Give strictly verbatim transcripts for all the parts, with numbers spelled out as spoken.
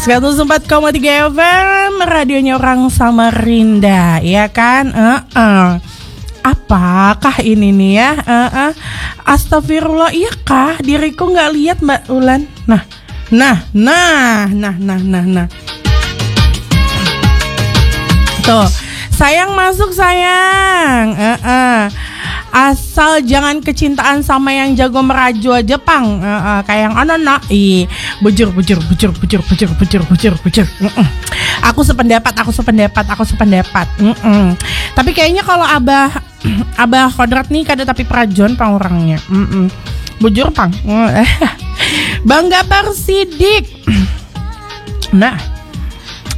Seratus empat koma tiga F M, radionya orang Samarinda, ya kan? Heeh. Apakah ini nih ya? Heeh. Astagfirullah, iya kah? Diriku nggak lihat, Mbak Ulan. Nah, nah, nah, nah, nah, nah, nah. Tuh, sayang masuk sayang. Heeh. Asal jangan kecintaan sama yang jago merajo aja pang. Heeh, kayak yang ono nak. Ih, bujur bujur bujur bujur bujur bujur bujur bujur. Heeh. Aku sependapat, aku sependapat, aku sependapat. Heeh. Tapi kayaknya kalau Abah Abah Kodrat nih kada tapi perajon pang orangnya. Heeh. Bujur pang. Bangga parsidik. Nah,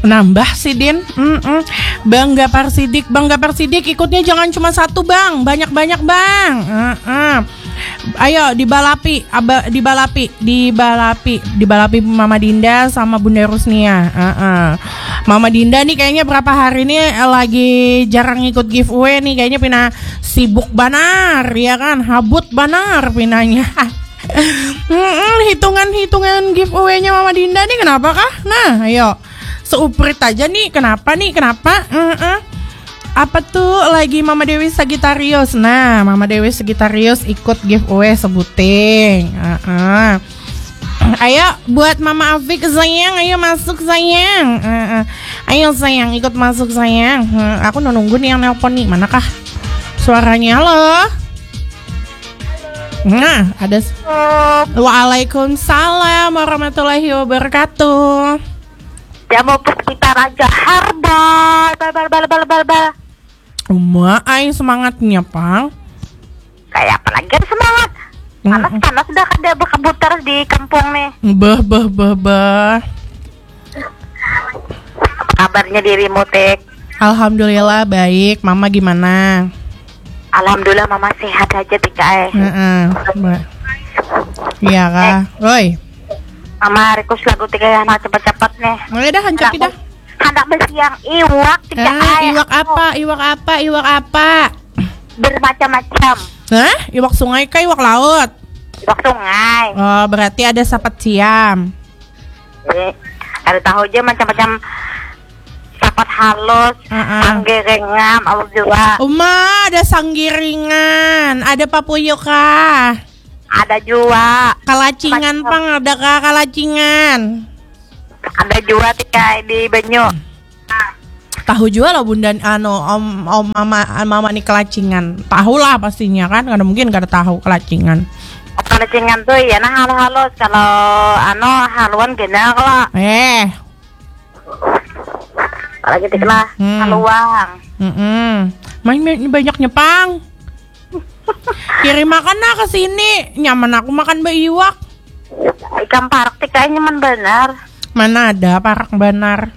nambah sidin. Mm-mm. Bangga parsidik, bangga parsidik. Ikutnya jangan cuma satu bang, banyak-banyak bang. Heeh. Ayo dibalapi, aba, dibalapi, dibalapi, dibalapi Mama Dinda sama Bunda Rusnia. Heeh. Mama Dinda nih kayaknya berapa hari ini lagi jarang ikut giveaway nih, kayaknya pina sibuk banar ya kan, habut banar pinanya. Mm-mm, hitungan-hitungan giveaway-nya Mama Dinda nih kenapa kah? Nah, ayo. Seuprit aja nih, kenapa nih? Kenapa? Heeh. Apa tuh lagi Mama Dewi Sagitarius? Nah, Mama Dewi Sagitarius ikut giveaway sebuting. Heeh. Ayo buat Mama Afik sayang, ayo masuk sayang. Heeh. Ayo sayang ikut masuk sayang. Heeh, aku nunggu nih yang nelpon nih. Manakah suaranya? Halo. Nah, ada s- Waalaikumsalam warahmatullahi wabarakatuh. Jamu Puspita Raja Herbal. Bal bal bal bal bal bal. Uma, ai semangatnya pang. Kayak apa lagi ada semangat? Panas panas dah kada berkebutar di kampung nih. Bah bah bah bah. Apa kabarnya dirimu, Tik? Alhamdulillah baik. Mama gimana? Alhamdulillah mama sehat aja, Tik, eh. Heeh. Mbak. Iya kah? Woi. Mama request lagu, Tik, eh, anak cepat-cepat nih. Mulai dah hancur tidak? Handak besiang iwak, Tik, Ah, eh. iwak apa? Iwak apa? Iwak apa? Bermacam-macam. Hah? Iwak sungai kah iwak laut? Iwak sungai. Oh, berarti ada sapat siam. Eh, ada tahu aja macam-macam. Sapat halus, Heeh. Sanggiringan, ada juga. Uma, ada sanggiringan, ada papuyu kah? Ada juga. Kalacingan pang ada kah kalacingan? Ada juga, Tik, eh, di banyu. Tahu juga lah bunda anu om om mama mama nih kelacingan. Tahu lah pastinya kan, kada mungkin kada tahu kelacingan. Kalacingan tuh ya nah halus-halus. Kalau anu haluan gena kalau. Eh, Apalagi, Tik, lah. Hmm. Haluang. mm-mm. Main main banyaknya pang. Kirim makan nah ke sini. Nyaman aku makan beiwak. Ikan parak, Tik, kayaknya nyaman benar. Mana ada parak banar.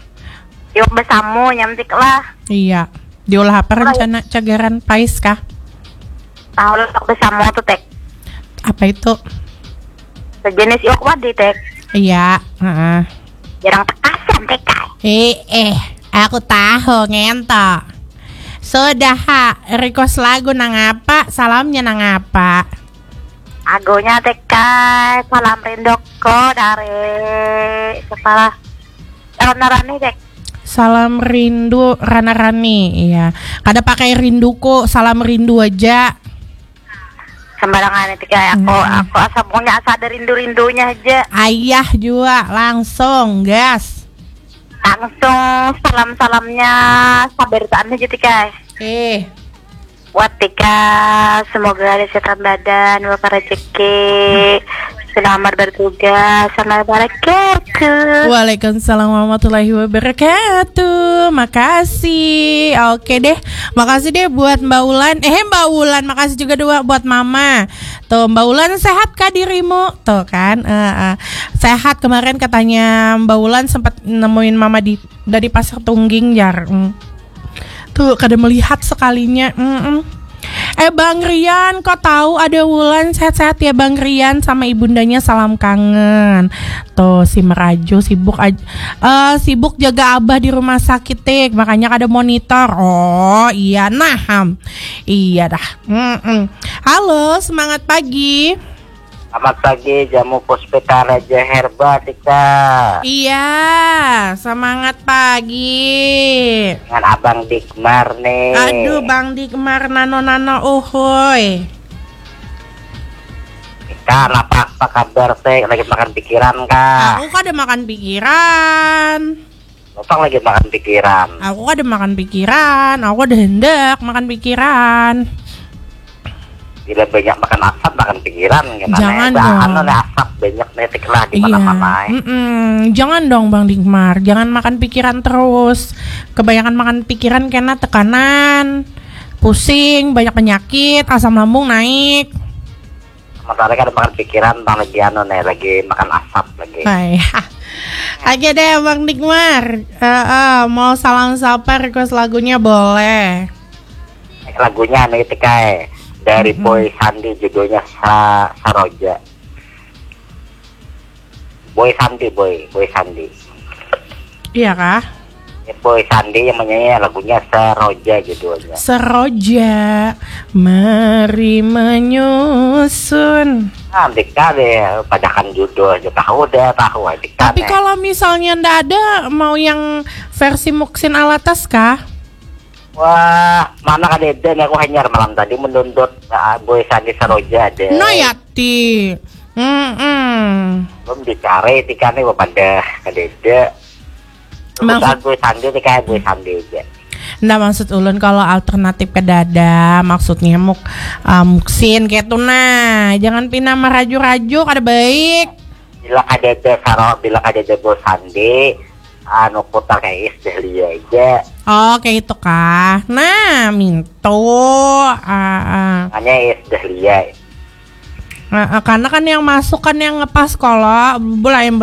Iwak besamu nyam, Tik, lah. Iya. Diolah apa rencana cagaran pais kah? Tahu lah iwak besamu tuh, Tik. Apa itu? Sejenis iwak wadi, Tik. Iya, heeh. Jarang tekasan, Tik, kai. Eh, eh, aku tahu ngento. Sudah ha, request lagu nang apa? Salamnya nang apa? Agunya, Tik, kai. Salam rinduku dari kepala Rana Rani, Tik. Salam rindu Rana Rani, iya. Kada pakai rinduku, salam rindu aja. Sembarangan, Tik, kai. Aku, aku asa punya asa ada rindu-rindunya aja. Ayah juga langsung gas. Langsung salam-salamnya sabarataan aja, Tik, kai. Eh, Buat Tika, semoga ada kesehatan badan, barokah rezeki, selamat bertugas, selamat berkatu. Waalaikumsalam warahmatullahi wabarakatuh. Makasih. Oke deh. Makasih deh buat Mbak Ulan. Eh, Mbak Ulan, makasih juga dua buat Mama. Tuh, Mbak Ulan, sehat kah dirimu? Tuh kan. Eh, eh. Sehat, kemarin katanya Mbak Ulan sempat nemuin Mama di dari Pasar Tungging, jar. Hmm. Tuh, kada melihat sekalinya. Mm-mm. Eh, Bang Rian, kok tahu ada Wulan? Sehat-sehat ya, Bang Rian, sama ibundanya, salam kangen. Tuh, si Merajo sibuk aj- eh, sibuk jaga abah di rumah sakit, Tik. Makanya kada monitor. Oh, iya nah. Ham. Iya dah. Mm-mm. Halo, semangat pagi. Selamat pagi, jamu puspita Raja Herba, Tika. Iya, semangat pagi. Dengan Abang Digmar nih. Aduh, Bang Digmar nano-nano uhuy. Tika, apa, apa kabar teh? Lagi makan pikiran kah? Aku kada makan pikiran. Bapak lagi makan pikiran. Aku kada makan pikiran, aku kada hendak makan pikiran. Bila banyak makan asap, makan pikiran kena. Jangan dong. Anu nih, asap banyak nih, tiklah di mana-mana. Iya. Mm-mm. Jangan dong, Bang Digmar, jangan makan pikiran terus. Kebanyakan makan pikiran kena tekanan, pusing, banyak penyakit, asam lambung naik. Sementara kada makan pikiran, bang lagi anu nih, lagi makan asap lagi. Hai. Oke deh, Bang Digmar. Eh, eh, mau salam sapa, request lagunya boleh. Lagunya anu itu kae, dari Boy Sandi, judulnya Sa Saroja. Boy Sandi, Boy, Boy Sandi. Iya kah? Boy Sandi yang menyanyi lagunya Seroja judulnya. Seroja, mari menyusun. Nah, dikali padakan judul aja tahu deh, tahu aja. Tapi kalau misalnya ndak ada, mau yang versi Muksin Alatas kah? Wah, mana kadeda nih, aku hanyar malam tadi mendondot, ah, Boy Sandi Seroja deh. No ya ti. Hmm. Belum dicari tikane pada kadeda. Maksud gue sandi nih kayak gue sandi aja. Nah, maksud ulun kalau alternatif ke dada, maksudnya muk uh, muksin kayak tuh nah, jangan pina merajuk-rajuk, ada baik. Bila ada ada saro, bila ada ada gue sandi, anu putar kayak is dahlia aja. Oh, kayak itu kah? Nah, minto. Ah, ah. Makanya is dahlia. Nah, karena kan yang masuk kan yang ngepas kalau lain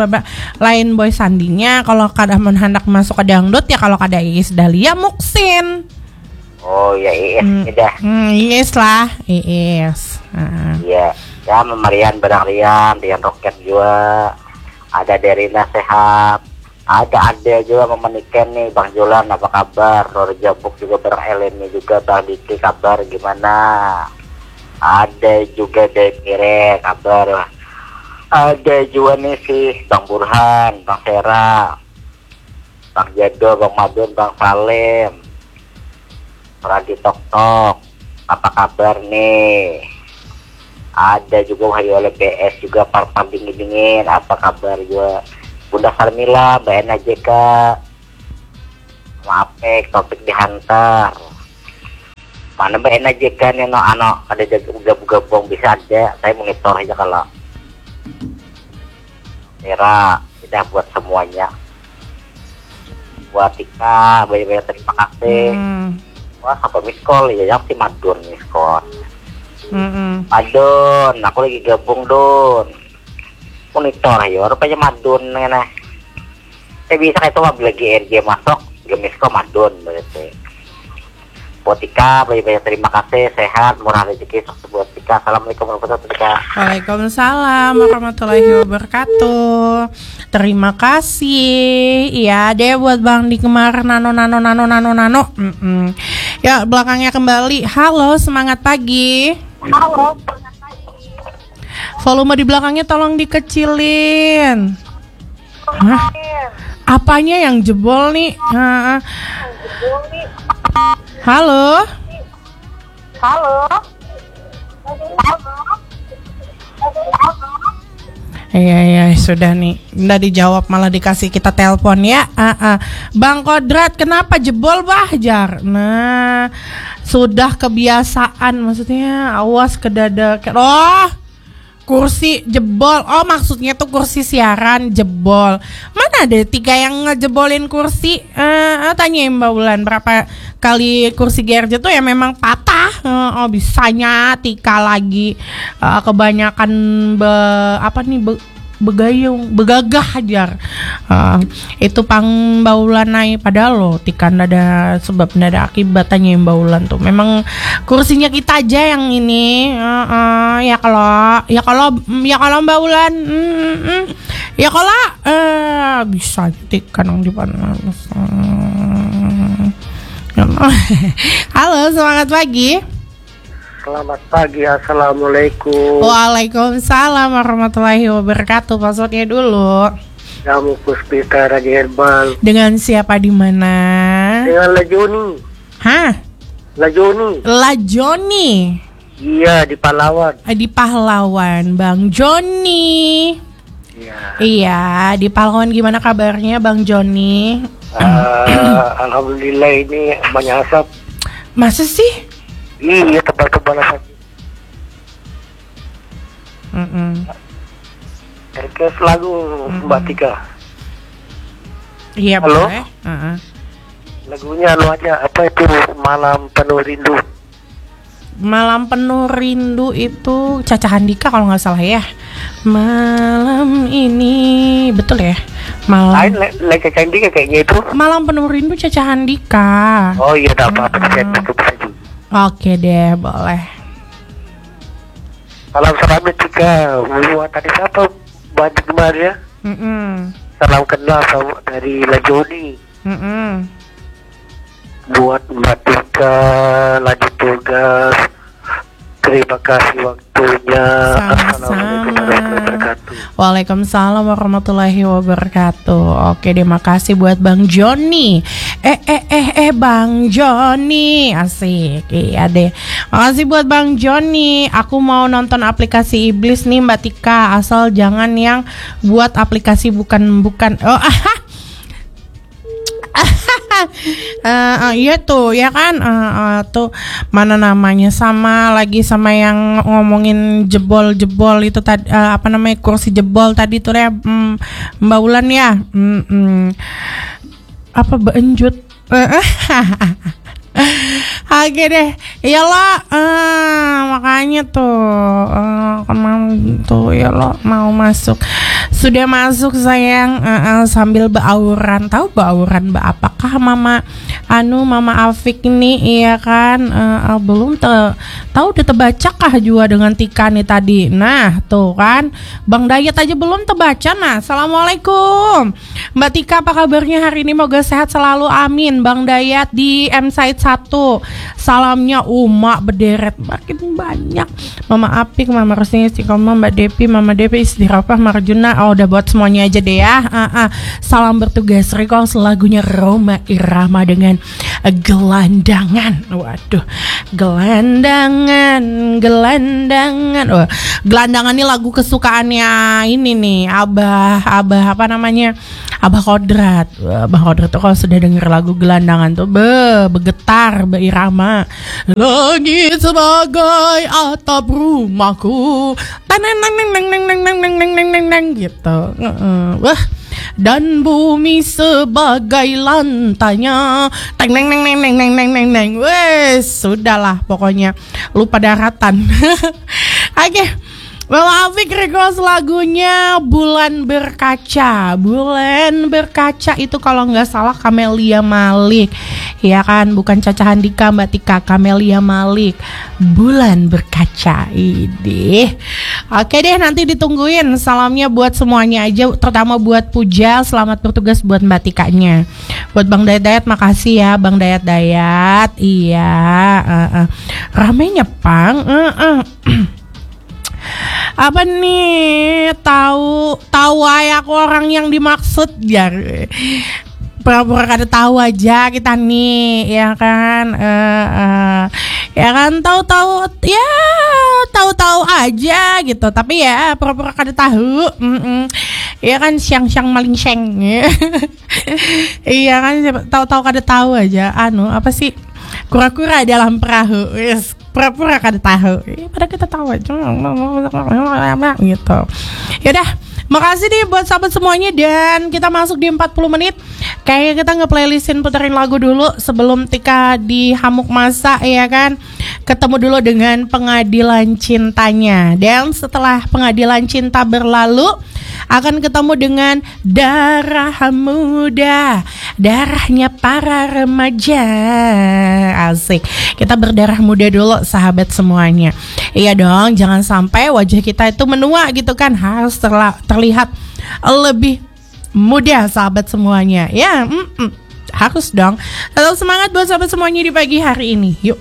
lain boy sandinya kalau kada mun handak masuk ke dangdut ya kalau kada Iis Dahlia Muksin. Oh ya Iis hmm, dah. Hmm, Iis lah, Iis. Iya. Ya memarian barang Rian, Rian Roket juga. Ada Derina sehat. Ada ada juga memanikan nih Bang Jolan, apa kabar? Ror Jabuk juga bareng Eleni juga, Bang Diki kabar gimana? Ada juga dari Pire kabar. Ada juga nih sih Bang Burhan, Bang Sera, Bang Jado, Bang Madun, Bang Salim. Radi Tok Tok, apa kabar nih? Ada juga wahyu oleh B S juga, Parpar Dingin Dingin, apa kabar juga? Bunda Sarmila, Mbak Ena J K, Mapek, Topik dihantar. Mana Mbak Ena J K nih, no, ano, ada gabung-gabung, bisa aja, saya monitor aja kalau Mira, tidak buat semuanya. Buat Tika, banyak-banyak terima kasih. Hmm. Wah, apa miss call ya? Yang si Madun miss call. Mm-mm. Madun, aku lagi gabung Dun. Monitor ya, rupanya Madun nih. Saya bisa kayak itu mah lagi R J masuk, gak miss call Madun berarti. Buat Tika, banyak-banyak terima kasih, sehat, murah rezeki, sukses buat Tika. Assalamualaikum warahmatullahi wabarakatuh, Tika. Waalaikumsalam warahmatullahi wabarakatuh. Terima kasih. Iya deh buat Bang Digmar nano nano nano nano nano. Mm-mm. Ya belakangnya kembali. Halo, semangat pagi. Halo, semangat pagi. Volume di belakangnya tolong dikecilin. Hah? Apanya yang jebol nih? Halo. Halo. Iya iya sudah nih. Nggak dijawab malah dikasih kita telepon ya. Uh, uh. Bang Kodrat kenapa jebol bah jar. Nah sudah kebiasaan maksudnya awas ke dada. Oh kursi jebol. Oh maksudnya tuh kursi siaran jebol. Mana ada tiga yang ngejebolin kursi? Eh, eh, tanya Mbak Ulan berapa kali kursi G R J tuh ya memang patah. Eh, oh bisanya Tika lagi eh, kebanyakan be, apa nih be, begayung begagah ajar. Uh, itu pang baulan nai padahal lo tikan ada sebab ada akibat tanya baulan tuh memang kursinya kita aja yang ini uh, uh, ya kalau ya kalau ya kalau baulan mm, mm, mm. Ya kalau uh, bisa tikan yang di panas hmm. Halo semangat pagi. Selamat pagi, assalamualaikum. Waalaikumsalam warahmatullahi wabarakatuh. Passwordnya dulu. Kamu Puspita Raja Herbal. Dengan siapa di mana? Dengan Lajoni. Hah? Lajoni. Lajoni. Iya, di Pahlawan. Eh, di Pahlawan, Bang Joni. Iya. Iya, di Pahlawan gimana kabarnya, Bang Joni? Eh, alhamdulillah, ini banyak asap. Masa sih? Iya, tebal-tebal asap. Mm-mm. Request lagu, Mm-mm. Mbak Tika. Iya, Halo? Boleh. Heeh. Lagunya anu aja, apa itu, Malam Penuh Rindu. Malam Penuh Rindu itu Caca Handika kalau nggak salah ya. Malam ini, betul ya? Malam Lain le, le Caca Handika kayaknya itu. Malam Penuh Rindu Caca Handika. Oh iya, tak apa-apa, bisa, Mm-mm. Bisa juga. Oke deh, boleh. Salam, salam juga buat tadi siapa? Bantu kemarin ya. Mm-mm. Salam kenal sama dari Lajoni. Mm-mm. Buat Mbak Tika, lanjut tugas. Terima kasih waktunya. Sama-sama. Assalamualaikum warahmatullahi wabarakatuh. Waalaikumsalam warahmatullahi wabarakatuh. Oke, terima kasih buat Bang Joni. Eh, eh, eh, eh, Bang Joni. Asik. Iya deh. Makasih buat Bang Joni. Aku mau nonton aplikasi iblis nih, Mbak Tika. Asal jangan yang buat aplikasi bukan-bukan. Oh, Eh, eh, iya tuh, ya kan? Eh, eh, tuh, mana namanya, sama lagi sama yang ngomongin jebol-jebol itu tadi, eh, apa namanya, kursi jebol tadi tuh ya, mm, Mbak Ulan ya. Mm-mm. Apa, beenjut? Oke deh. Ya lo, eh, makanya tuh, eh, kemang tuh, ya lo mau masuk. Sudah masuk, sayang. Eh, eh, sambil beauran. Tahu beauran beapakah, Mama? Anu, Mama Afik nih, iya kan? Eh, eh, belum te-, tahu udah tebacakah jua dengan Tika nih tadi. Nah, tuh kan. Bang Dayat aja belum tebaca. Nah, Assalamualaikum. Mbak Tika, apa kabarnya hari ini? Moga sehat selalu, amin. Bang Dayat di M Side satu. Salamnya Uma bederet, makin banyak. Mama Apik, Mama Rusni, Istiqomah, Mbak Depi, Mama Depi, Istirafah, Marjuna. Oh, udah buat semuanya aja deh ya. Ah, ah. Salam bertugas, request lagunya Rhoma Irama dengan Gelandangan. Waduh, Gelandangan, Gelandangan. Wah, Gelandangan ini lagu kesukaannya ini nih, Abah, Abah apa namanya? Abah Kodrat. Wah, Abah Kodrat tuh kalau sudah denger lagu Gelandangan tuh, be, begetar, beirama. Langit sebagai atap rumahku. Taneng, neng, neng, neng, neng, neng, neng, neng, neng, neng, neng, gitu. Heeh. Wah, dan bumi sebagai lantainya. Teng, neng, neng, neng, neng, neng, neng, neng, neng. Wes, sudahlah pokoknya. Lupa daratan. Oke. Mama Afik request lagunya Bulan Berkaca. Bulan Berkaca itu kalau nggak salah Camelia Malik. Ya kan, bukan Caca Handika, Mbak Tika, Camelia Malik. Bulan Berkaca. Idih. Oke deh, nanti ditungguin salamnya buat semuanya aja, terutama buat Puja. Selamat bertugas buat Mbak Tikanya. Buat Bang Dayat-Dayat, makasih ya, Bang Dayat-Dayat. Iya, heeh. Ramenya pang, heeh. Apa nih? Tahu, tahu aja aku orang yang dimaksud, ya. Pura-pura kada tahu aja kita nih, ya kan? Eh, eh. Ya kan, tahu-tahu, ya, tahu-tahu aja gitu. Tapi ya, pura-pura kada tahu. Mm-mm. Ya kan, siang-siang malingseng. Iya kan, siapa tahu-tahu kada tahu aja. Anu, apa sih? Kura-kura dalam perahu. Wis, pura-pura kada tahu. Iya, padahal kita tahu aja. Gitu. Ya udah, makasih nih buat sahabat semuanya, dan kita masuk di empat puluh menit. Kayaknya kita nge-playlistin, puterin lagu dulu sebelum Tika dihamuk masa, ya kan? Ketemu dulu dengan Pengadilan Cintanya. Dan setelah Pengadilan Cinta berlalu, akan ketemu dengan Darah Muda, darahnya para remaja. Asik. Kita berdarah muda dulu, sahabat semuanya. Iya dong, jangan sampai wajah kita itu menua gitu kan. Harus terla-, terlihat lebih muda, sahabat semuanya. Ya, mm-mm. Harus dong. Tetap semangat buat sahabat semuanya di pagi hari ini. Yuk.